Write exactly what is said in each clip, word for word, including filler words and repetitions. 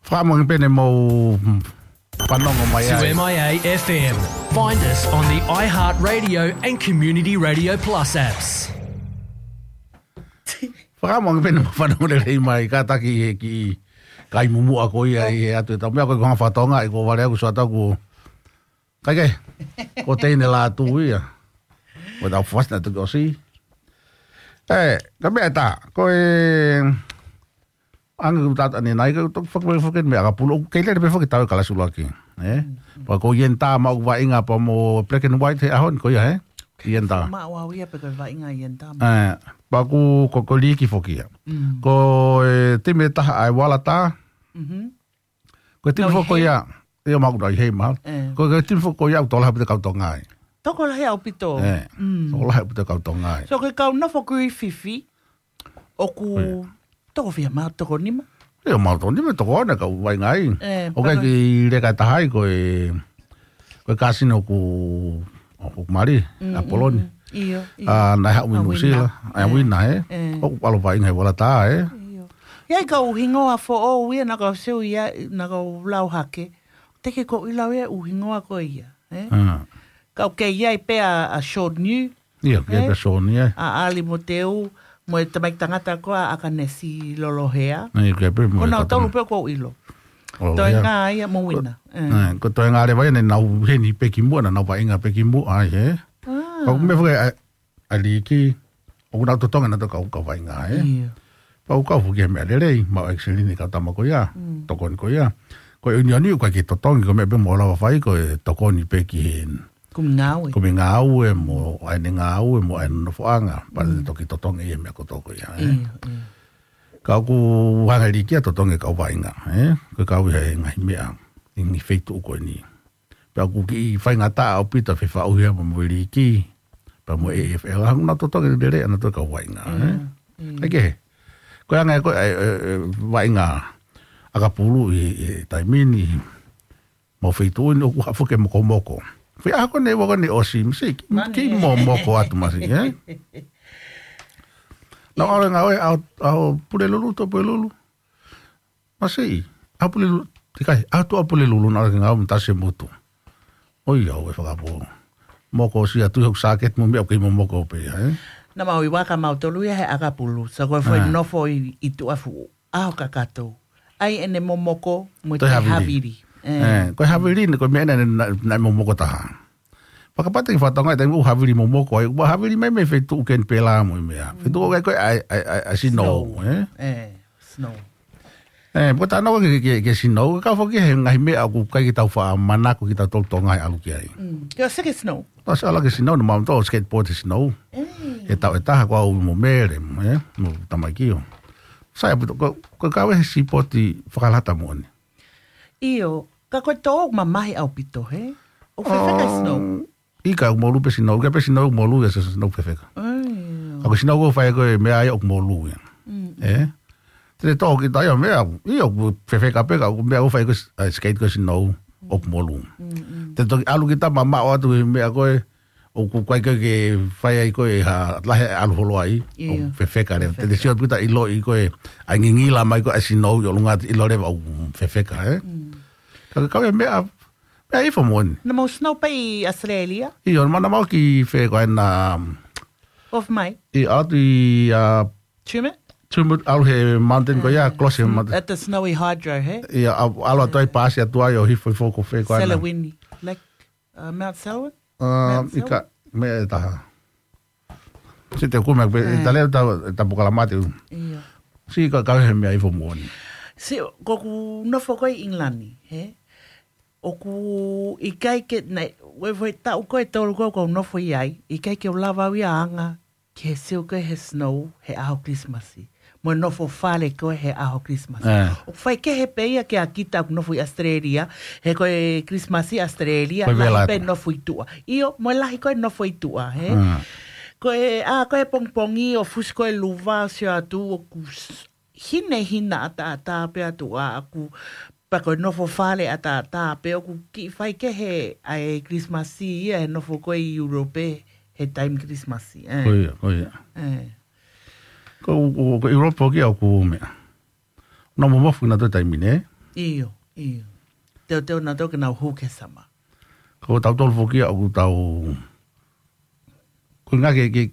Fakaʻamu ange pē ne mou fanongo mai ai. Two M I A F M. Find us on the iHeartRadio and Community Radio Plus apps. Fakaʻamu ange pē ne mou fanongo lelei mai, kātaki he kiʻi kai mumuʻa ko ia ʻi he ʻatu e tau meʻa ko e konga fatonga ʻi ko vale aku sua taku. Kai ke, ko teine la tu ia. Ko tau fast na tu ko si. E, ka meʻa tā, ko e, ange ku tata ni nai ka toki fakapē foki meʻa ʻakapulu, kei lele pē foki tau e kalasi ʻuluaki. E, pea ko Ian Tā mau vaʻinga pea mo black and white he ʻaho ni ko ia, e? Ian Tā. Ma o au ia pe ko e vaʻinga Ian Tā. E, pea ku, ko, ko Liki foki ia. Ko e timi ʻe taha ʻa e Waratā. Ko e timi foki ko ia, ia mau kuta i hei mau. Ko, ko e timi foki ko ia ʻoku tokolahi ʻaupito kau Tonga ai. Tokolahi ʻaupito. E, tokolahi ʻaupito kau Tonga ai. So ko e kau nofo Griffith, ʻoku toko fiha mau, toko nima? Ia mau toko nima, toko ono kau vaʻinga ai. E, ʻoku ʻikai ke leka taha ai ko e, ko e kasino ʻoku, ʻoku mali, ʻa Poloni. ʻIo, ʻio. A, naʻe haʻu mei Nuʻusila. A, Uina, e? ʻOku ʻalu vaʻinga he Waratā, e? ʻIo. ʻI ai kau hingoa foʻou ia naʻa kau sio ia, naʻa kau lau hake. Te ke ko ʻilau ia ʻū hingoa ko ia, e? Kau kei ai pē ʻa, ʻa Sean New. ʻIo, kei ai pē Sean New, e? ʻA ʻAli Moteu, mo e tamaiki tangata ko ā ʻa ʻAkanesi Lolohea. ʻIo, kei ai pē mo e kau tolu pē ʻoku ou ʻilo. Lolohea. Toenga ia mo Uina. E, ko Toenga leva ia ne nau heni pē kimuʻa, naʻa nau vaʻinga pē kimuʻa ai, e? Ka ʻoku meʻa foki ʻa, ʻa Liki, ʻoku nau totongi naʻa tau kau, kau vaʻinga, e? Pea ʻoku kau foki he meʻa lelei, mau excellent ni kau tama ko ia, tokoni ko ia. Ko e ʻunioni ʻoku ʻikai ke totongi, ko e meʻa pē mo lava fai, ko e tokoni pē ki he kumi ngāue. Kumi ngāue, mo ʻai ʻene ngāue, mo ʻai ʻene nofoʻanga, pea ne toki totongi ia meʻa kotoa ko ia, e? Ka ʻoku hanga Liki ia totongi kau vaʻinga, e? Ko e kau ia he ngaahi meʻa, ʻi he ngaahi feituʻu ko eni. Pea ʻoku kiʻi faingataʻa ʻaupito fefaʻuhi mo Liki, pea mo e A F L, hanga nau totongi lelei ʻa nautolu kau vaʻinga, e? ʻIo. Ko e anga ko e, e, e, vaʻinga ʻakapulu ʻi, ʻi taimi ni, mau feituʻu ni ʻoku haʻu foki e mokomoko. Feʻaho ko eni ʻoku ne ʻosi, masi, kiʻi momoko atu masi, e? Nau ʻalu ngāue, ʻa, ʻa Pulelulu, to Pulelulu. Masi, ʻa Pulelulu, tikai, ʻa tu ʻa Pulelulu naʻa ke ngāue mo Tasi Mutu. ʻOi, au e fakapō. Moko si atu hoku sāketi mo meʻa ʻoku kei momoko pē ia, e? Naʻa mau ʻi vaka mautolu ia he ʻakapulu. So ko e foʻi nofo ʻi, ʻi tuʻa fuʻu ʻaho kakato. ʻAi ʻene momoko mo e toe havili. E, ko e havili ni, ko e meʻa naʻe, naʻe, naʻe momoko taha. Fakapataki fatonga e taimi ʻoku havili momoko ai, ʻoku havili mai mei he feituʻu Kenipela mo e meʻa. Feituʻu ʻoku ʻikai ko e ʻai, ʻai, ʻai, ʻai snow, e? E, snow. E, pea tā nau ke, ke, ke snow, ka foki he ngaahi meʻa ʻoku ʻikai ke tau faʻa manako kitautolu Tonga he ʻalu ki ai. Ke ʻosi ke snow. Tau ʻosi ʻalu ki he snow, naʻa mau tō skateboard he snow. He taʻu ʻe taha ko au mo Mele, e? Mo tamaiki ʻo. Sai ʻaupito, ko, ko e kau he sipoti fakalata moʻoni. ʻIo, ka ko e tō ʻoku mamahi ʻaupito, he? ʻOku fefeka snow? ʻIkai, ʻoku molu pē snow, ʻikai pē snow ʻoku molu ia, se snow fefeka. Ka ko e snow ʻoku fai ko e meʻa ia ʻoku molu ia. E? Te tō kita ia meʻa, ia ʻoku fefeka pē ka ko e meʻa ʻoku fai ko e, ʻa e skate ko e snow ʻoku molu. Te toki ʻalu kita mamaʻo atu he meʻa ko e, ʻoku ʻikai ke, ke fai ai ko e ha lahi ʻalu holo ai, ʻoku fefeka leva. Te te sio atu kita ʻiloʻi ko e, ʻai ngingila mai ko e snow ʻi ʻolunga te ʻilo leva ʻoku fefeka, e? Ka ke kau e meʻa, meʻa ifo moʻoni. Naʻa mau snow pē ʻi Australia? ʻIo, naʻa mau ki fē ko ena, Off mai? ʻI atu ʻi, a, Tumut? Tumut, ʻalu he mountain ko ia, close he mountain. At the Snowy Hydro, he? ʻIa, ʻalu atu ai pasi atu ai ʻo hifo hifo ko fē ko ena. Salween, like, uh, Mount Salween? A, ʻikai, meʻa ʻe taha. Sio te u kumi pē, ʻi tale ta, ta pukala mate u. ʻIo. Sio ka kau he meʻa ifo moʻoni. Sio, ko ʻeku nofo ko ē ʻi England, he? ʻOku ʻikai ke, naʻe, ʻi he foʻi taʻu ko ē ʻe tolu ko ē ʻoku ou nofo ai, ʻikai ke u lava au ia ʻo anga ki he sio ko ē he snow he ʻaho Kilisimasi. Mo e nofo fale ko ē he ʻaho Kilisimasi. ʻOku faikehe pē ia kia kita ʻoku nofo ʻi Australia, he ko e Kilisimasi Australia, lahi pē nofo ʻi tuʻa. ʻIo, mo e lahi ko ē nofo ʻi tuʻa, he? Ko e, a, ko e pongipongi ʻo fusi ko ē luva sio atu ʻoku s-, hinehina ʻataʻatā pē ʻa tuʻa ʻaku, pea ko e nofo fale ʻataʻatā pē ʻoku kiʻi faikehe ʻa e Kilisimasi ia he nofo ko ē ʻi Europe he taimi Kilisimasi, e. Ko ia, ko ia. E. Ko, ko, ko Europe foki ʻoku meʻa. Naʻa mo mofu na to taimi ne. ʻIo, ʻio. Teuteu nautolu ke nau hū ki he summer. Ko tautolu foki ia ʻoku tau, ko e ngā ke, ke,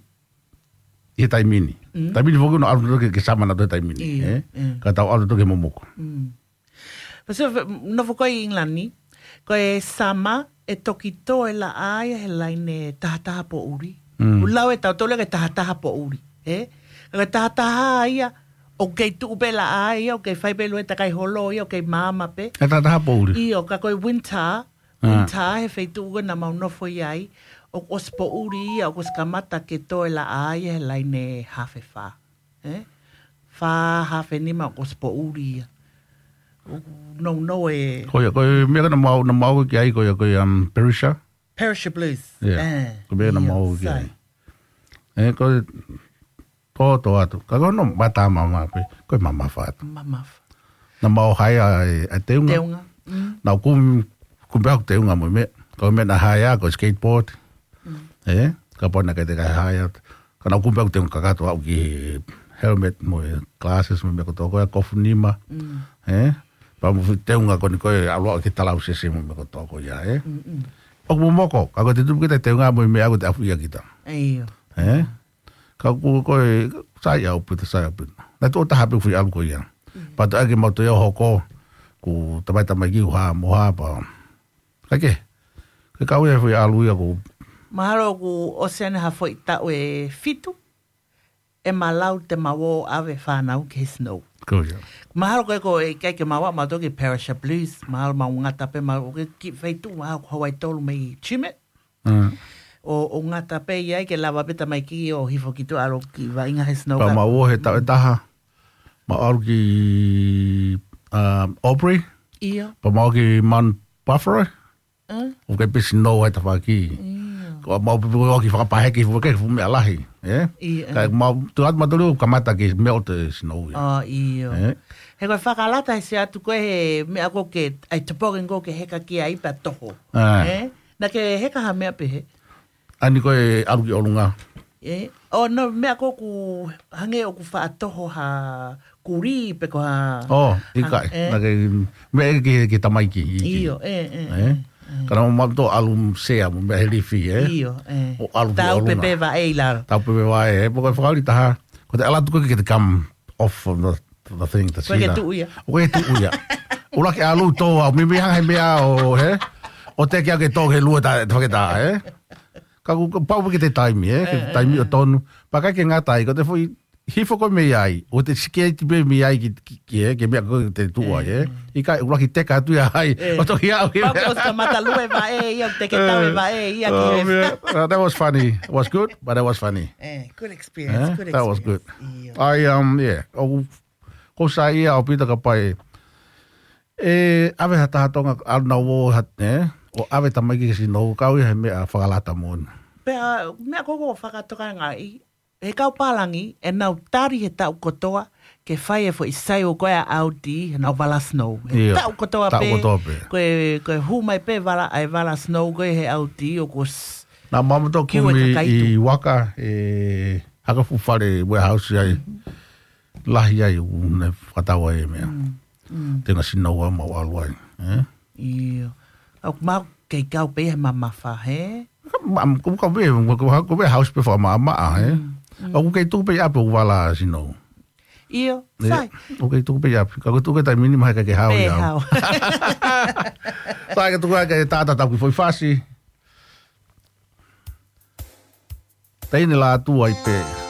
he taimi ni. Mm. Taimi ni foki ʻoku nau ʻalu nautolu ki he, ki he summer nautolu he taimi ni, Io, eh? mm. Ka tau ʻalu nautolu ki he momoko. Mm. Pea sio, nofo ko ē ʻi ʻIngilani, ko e summer ʻe toki tō e laʻā ia he laine tahataha poʻuli. Mm. ʻOku lau ʻe tautolu ia ko e tahataha poʻuli, eh? Ka ko e tahataha ia, ʻoku kei tuʻu pē laʻā ia, ʻoku kei fai pē lue takai holo ia, ʻoku kei maama pē. E tahataha poʻuli. ʻIo, ka ko e winter, Ah. winter he feituʻu ko ē naʻa mau nofo ai, ʻoku ʻosi poʻuli ia, ʻoku ʻosi kamata ke tō e laʻā ia he laine hafe fā. Eh? Fā hafe nima ʻoku ʻosi poʻuli ia. ʻOku nounou e Ko ia, ko e meʻa ko ē naʻa mau, naʻa mau ki ai, ko ia, ko ia, um, Perisher. Perisher Blues. Yeah. Eh, Ko e meʻa naʻa ʻio, mau ki sai. ai. Eh, ko e tō, tō atu. Ka ko hono mata mama pē, ko e mamafa atu. Mamafa. Naʻa mau haea e, e teunga. Teunga. Mm. Naʻa ku, ku pea ku teunga mo e meʻa. Ko e meʻa naʻa haea ko e skateboard. Mm. Eh, kapau naʻe ʻikai te u haea. Ka naʻa ku pea ku teunga kakato au ki he helmet mo e glasses mo e meʻa kotoa ko ia, kofu nima. Mm. Eh, pea mo e fuʻu teunga ko eni ko e ʻalu au ki he talausese mo e meʻa kotoa ko ia, eh. Mm, mm. ʻOku momoko, ka ko e te tupu kita teunga mo e meʻa ko e te afu ia kita. ʻIo. Eh? Ka ʻoku ko e sai ʻaupito, sai ʻaupito. Naʻe tuʻo taha pē fuʻu ʻalu ko ia. Mm. Pea toe ʻai ke mau toe ō hoko, ʻoku tamaitamaiki ʻoku hā mo hā pea. Ka ke, ke kau ia fuʻu ʻalu ia ko. Mahalo ʻoku ʻosi ʻene ha foʻi taʻu ʻe fitu, ʻe malau te mau ō ʻave fānau ki he snow. Ko ia. Mahalo ko e ko e ʻikai ke mau ō, mau toki Perisher Blues, mahalo mau ngata pē, mau ke ki feituʻu, mahalo ko Hawaii tolu mei Tumut. Mm. ʻO, ʻo ngata pē ia ke lava pē tamaiki ʻo hifo ki tuʻa ʻalu ki vaʻinga he snow Pea ka. mau ō he taʻu ʻe taha. Mau ʻalu ki, um, Aubrey. ʻIo. Pea mau ki Mount Buffalo. Mm. ʻOku ʻikai pē snow ai tafaʻaki. ʻIo. Ko mau pē ʻoku fakapaheki fuʻu ke fuʻu meʻa lahi, eh? ʻIo, Ka eh. mau, tuʻu atu mau tolu kamata ke melt e snow ia. ʻO, ʻio. Eh? He ko e fakalata he se atu ko e he meʻa ko ke, ʻai te poke ko ke heka ki ai pea toho. Ah. Eh? Naʻa ke heka ha meʻa pē he? ʻAni ko e ʻalu ki ʻolunga. Eh? ʻO, no, meʻa ko ʻoku hangē ʻoku faʻa toho ha kulī pe ko ha ʻO, ʻikai. hang-, eh? Naʻa ke meʻa ki, ki tamaiki, ʻi ki. ʻIo, eh, eh, Eh? eh, eh. Ka naʻa mau tō ʻalu sea mo meʻa he lifi, eh? ʻIo, eh. ʻO ʻalu ki Tau ʻolunga. pepe vaʻe ʻi lalo. Tau pepe vaʻe, eh? Pea ko e fakaoli taha. Ko te ʻalu atu ko ke te come off of the, the thing, the Ko ke cedar. tuʻu ia. ʻO ke tuʻu ia. ʻUluaki ʻalu tō au, mimi hanga he meʻa ʻo, he? ʻO te ke ake tō ke lua ta, ta faketa, eh? Ka ʻoku, ʻoku pau ke te taimi, eh? Ke Eh, eh, taimi ʻo eh. tonu. Pea ʻikai ke ngata ai, ko te foʻi hifo ko ē mei ai, ʻo te sikeiti pē mei ai ki, ki, ki, eh? Ke meʻa ko te tuʻu ai, eh? Eh. ʻIkai, ʻuluaki teka atu ia ai, Eh. ʻo toki au ki Pau meʻa. ko ʻosi kamata lue vaʻe ia, te ke tau e Eh. vaʻe ia ki Oh, he man. Uh, that was funny. It was good, but that was funny. Eh, good experience, Eh? good That was good. experience. ʻIo. I, um, yeah. ʻOku, ʻoku sai ia ʻaupito kapau ʻe ʻave ha taha Tonga, ʻalu nautolu ʻo ha, eh? ʻO ʻave tamaiki ki he snow, kau ia he meʻa fakalata moʻoni. Pea, meʻa ko ē ʻoku fakatokangaʻi, he kau pālangi, ʻe nau tali he taʻu kotoa, ke fai e foʻi sale ko ē ʻa Aldi, he nau vala snow. He ʻIo, taʻu kotoa taʻu pē, kotoa pē. ko e, ko e hū mai pē vala, ʻa e vala snow ko ē he Aldi, ʻoku ʻosi Naʻa mau tō kiu e kumi kakai ʻi tu. Waka, e, haka fuʻu fale warehouse ai. Mm. Lahi ai, ʻoku ne fakatau ai e meʻa. Mm, mm. Tenga snow ʻa mau ʻalu ai, eh? ʻIo. ʻOku mau kei kau pē he mamafa, he? Ka, ma, ko, ka pē, ko, ko, ko pē house pē fakamamaʻa, he? Mm, mm. ʻOku kei tuku pē ʻi ʻapi ʻoku vala snow. ʻIo, Ē, sai. ʻoku kei tuku pē ʻi ʻapi. Ka ko tuku e taimi ni mahalo ʻikai ke hao Pē ia. hao. Sai ka tuku ai ke tata tau ki foʻi fasi. Teine la tu ai pē.